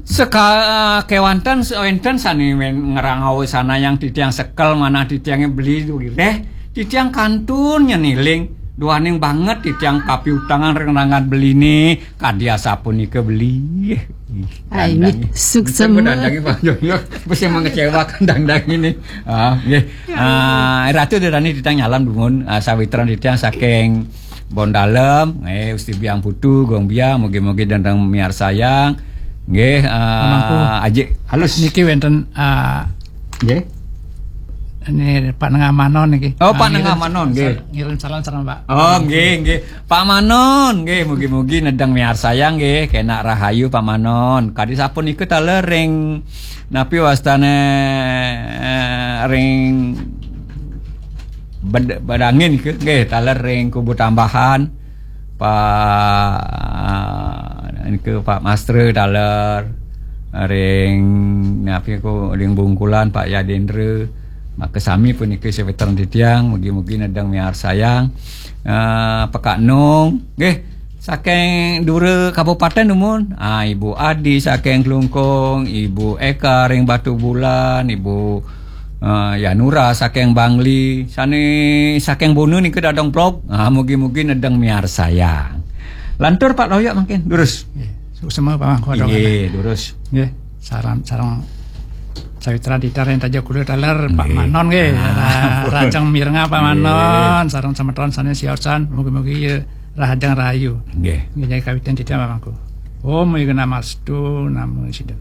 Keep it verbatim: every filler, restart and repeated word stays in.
Seka-, kéwanten, wénten sané men-, ngrangaosanayang titiang sekel manah titiangé beli wiréh, titiang kantun nyeniling, duaning banget titiang kapiutangan ring rangan beliné, kadi asapunika beli. Ih, Ai, dandang. Suksema. Dandang, Pak Joyo. Mesti mengecewakan dandang ini. Ah, nggih. Ah, Ratu Dedani titiang nyalam dumun, ah, sawitran titiang saking Bon Dalem, nggih, Gusti Biang Putu, Gong Biang, mugi-mugi dandang miarsayang. Nggih, ah, Pamangku. Aji, halus. Niki wénten, ah, nggih. Ini Pak Nengah Manon niki. Oh, Pak Nengah Manon, nggih. Ngirim salam sareng Pak. Oh, nggih, nggih. Pak Manon, nggih, mugi-mugi nedeng miarsayang, nggih, kenak rahayu Pak Manon. Kadi sapunika taler ring napi wastane, eh, ring Bed-, Bedangin ke, nggih, taler ring Kubu Tambahan, Pak, nika Pak Mastre taler, ring, napi ku, ring Bungkulan, Pak Yadendra, maka sami punika sawetran titiang, mugi-mugi nedeng miarsayang, eh, Pekak Nung, nggih, saking dura kabupaten dumun, ah, Ibu Adi saking Klungkung, Ibu Eka ring Batubulan, Ibu, eh, Yanura saking Bangli, sané saking Bona nika dadong vlog. Ah, mugi-mugi nedeng miarsayang. Lantur Pak Loyok mangkin, durus. Nggih, suksema Pak Mangku. Nggih, durus. Nggih, salam, sareng sawitran titiang ring Taja Kula taler Pak Nggih. Manon nggih. Ah, Ra-, rajeng mirengang Pak Nggih. Manon, sareng semeton sané siosan, mugi-mugi rahajeng rahayu. Nggih. Nggih, kawitan titiang Pak Mangku. Om Wignamastu, Namo Siddham.